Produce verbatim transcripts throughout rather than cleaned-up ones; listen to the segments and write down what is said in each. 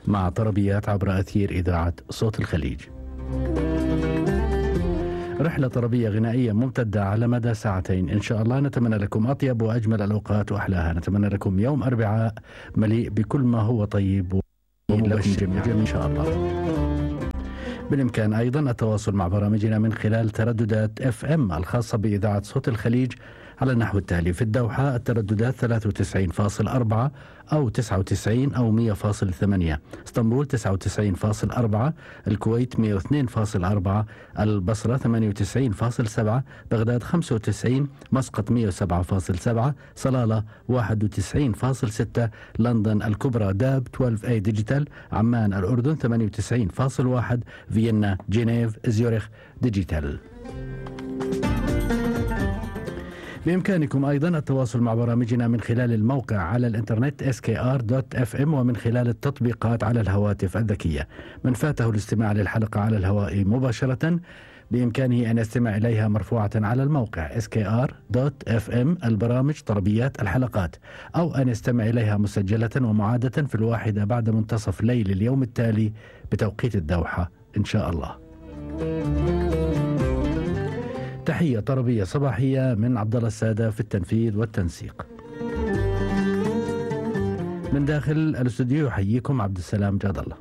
مع طربيات عبر أثير إذاعة صوت الخليج. رحلة طربية غنائية ممتدة على مدى ساعتين إن شاء الله. نتمنى لكم أطيب وأجمل الأوقات وأحلاها. نتمنى لكم يوم أربعاء مليء بكل ما هو طيب ومبشر جميعا إن شاء الله. بالإمكان أيضا التواصل مع برامجنا من خلال ترددات اف ام الخاصة بإذاعة صوت الخليج على النحو التالي: في الدوحة الترددات ثلاثة وتسعين فاصل أربعة أو تسعة وتسعين أو مية فاصل ثمانية، اسطنبول تسعة وتسعين فاصل أربعة، الكويت مية واثنين فاصل أربعة، البصرة ثمانية وتسعين فاصل سبعة، بغداد خمسة وتسعين، مسقط مية وسبعة فاصل سبعة، صلالة واحد وتسعين فاصل ستة، لندن الكبرى داب اثنا عشر اي ديجيتال، عمان الأردن ثمانية وتسعين فاصل واحد، فيينا جنيف زيورخ ديجيتال. بإمكانكم أيضا التواصل مع برامجنا من خلال الموقع على الإنترنت إس كي آر دوت إف إم ومن خلال التطبيقات على الهواتف الذكية. من فاته الاستماع للحلقة على الهواء مباشرة بإمكانه أن يستمع إليها مرفوعة على الموقع إس كي آر دوت إف إم البرامج طربيات الحلقات، أو أن يستمع إليها مسجلة ومعادة في الواحدة بعد منتصف ليل اليوم التالي بتوقيت الدوحة إن شاء الله. تحية طربية صباحية من عبد الله السادة في التنفيذ والتنسيق. من داخل الاستوديو يحييكم عبد السلام جاد الله.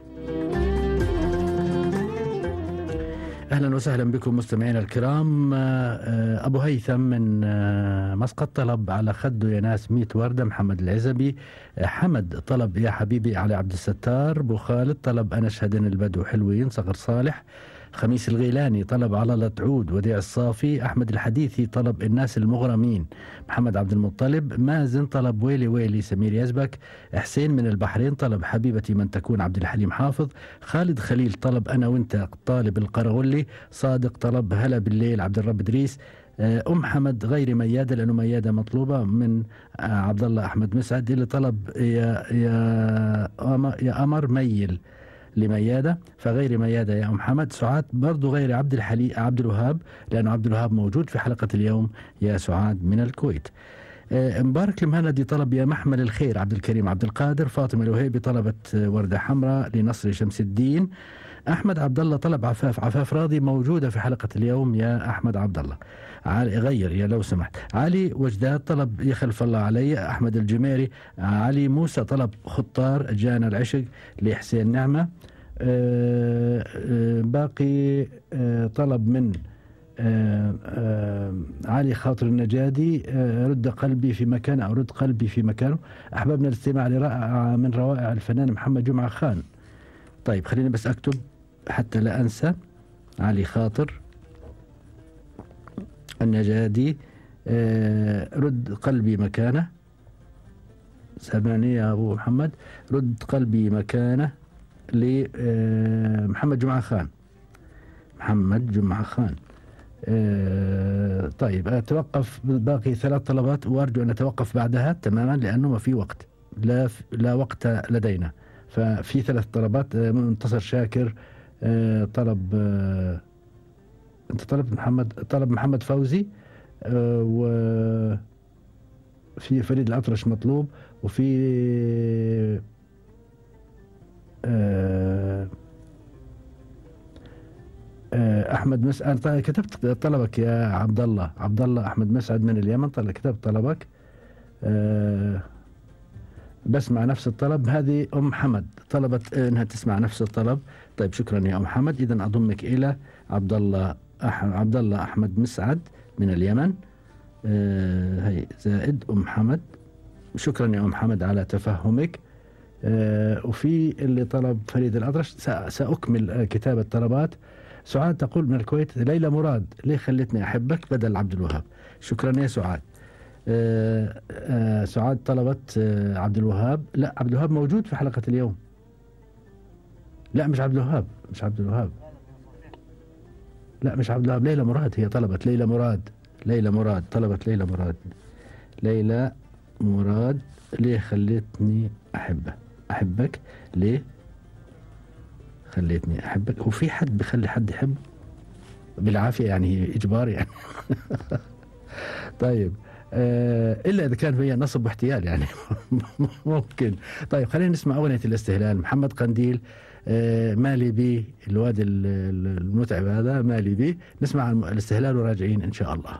أهلا وسهلا بكم مستمعينا الكرام. أبو هيثم من مسقط طلب على خده يا ناس ميت وردة، محمد العزبي. حمد طلب يا حبيبي علي عبد الستار. أبو خالد طلب أنا أشهدن البدو حلوين. صقر صالح. خميس الغيلاني طلب على لطعود. وديع الصافي. أحمد الحديثي طلب الناس المغرمين. محمد عبد المطلب. مازن طلب ويلي ويلي سمير يزبك. حسين من البحرين طلب حبيبتي من تكون عبد الحليم حافظ. خالد خليل طلب أنا وانت طالب القرغلي. صادق طلب هلا بالليل عبد الرب إدريس. أم حمد غير ميادة لأنه ميادة مطلوبة من عبد الله أحمد مسعد اللي طلب يا يا يا أمر ميل لميادة فغير ميادة يا أم حمد. سعاد برضو غير عبد الحلي عبد الوهاب لأنه عبد الوهاب موجود في حلقة اليوم يا سعاد من الكويت. آه مبارك المهندي طلب يا محمل الخير عبد الكريم عبد القادر. فاطمة الوهيبي طلبت وردة حمراء لنصر شمس الدين. أحمد عبد الله طلب عفاف عفاف راضي موجودة في حلقة اليوم يا أحمد عبد الله. علي غير يا لو سمحت. علي وجداد طلب يا خلف الله علي. أحمد الجميري. علي موسى طلب خطار جانا العشق لحسين نعمة. آه آه باقي آه طلب من آه آه علي خاطر النجادي. آه رد قلبي في مكانه أو رد قلبي في مكانه. أحببنا الاستماع لرائع من روائع الفنان محمد جمعة خان. طيب خليني بس أكتب حتى لا أنسى. علي خاطر النجادي. آه رد قلبي مكانه. سامعني يا أبو محمد. رد قلبي مكانه لمحمد جمعة خان. محمد جمعة خان. آه طيب أتوقف. باقي ثلاث طلبات وأرجو أن أتوقف بعدها تماما لأنه ما في وقت. لا, لا وقت لدينا. ففي ثلاث طلبات. منتصر شاكر آه طلب آه أنت طلب محمد طلب محمد فوزي. آه وفي فريد الأطرش مطلوب. وفي آه آه أحمد مسعد. أنا كتبت طلبك يا عبد الله عبد الله أحمد مسعد من اليمن. طلع كتبت طلبك. آه بسمع نفس الطلب. هذه أم حمد طلبت إنها تسمع نفس الطلب. طيب شكرا يا أم حمد. إذن أضمك إلى عبد الله أح عبد الله أحمد مسعد من اليمن. آه هي زائد أم حمد. شكرا يا أم حمد على تفهمك. آه وفي اللي طلب فريد الأطرش. سأكمل كتابة طلبات. سعاد تقول من الكويت ليلى مراد ليه خلتني أحبك بدل عبد الوهاب. شكرا يا سعاد. آه آه سعاد طلبت آه عبد الوهاب. لا عبد الوهاب موجود في حلقة اليوم. لا مش عبد الوهاب مش عبد الوهاب لا مش عبد الوهاب. ليلى مراد هي طلبت ليلى مراد. ليلى مراد طلبت ليلى مراد. ليلى مراد ليه خلتني أحبه أحبك ليه خليتني أحبك. هو في حد بخلي حد يحبه بالعافية يعني إجبار يعني. طيب إلا إذا كان فيها نصب واحتيال يعني ممكن. طيب خلينا نسمع أغنية الاستهلال، محمد قنديل، مالي بي الواد المتعب هذا، مالي بي. نسمع الاستهلال وراجعين إن شاء الله.